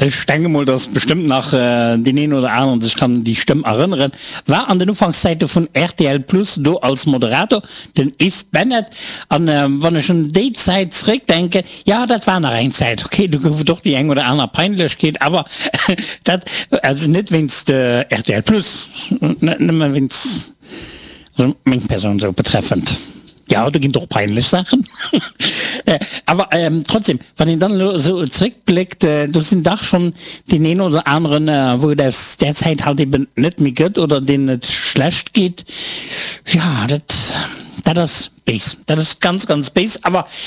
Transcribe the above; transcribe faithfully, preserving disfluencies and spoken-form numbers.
Ech denke mol, dass bestëmmt nach äh, deen een oder aneren sech kann un déi Stëmm erënneren. War an den Ufankszäite vun R T L Plus do als Moderator, den Yves Bennett. An äh, wann ech un déi Zäit zréckdenken, ja, dat war nach eng Zäit. Okay, do gouf et och déi eng oder aner Peinlechkeet, awer dat, also net wéinst äh, R T L Plus, net nëmme wéinst, also meng Persoun sou betreffend. Ja, do ginn et och peinlech Saachen. Äh, awer ähm, trotzdem, wann een dann sou zréckbléckt, äh, do sinn dach schonn deen een oder aneren, äh, wou et aus där Zäit halt eben net méi gëtt oder deenen et schlecht geet. Ja, dat, dat ass béis. Dat ass ganz, ganz béis. Awer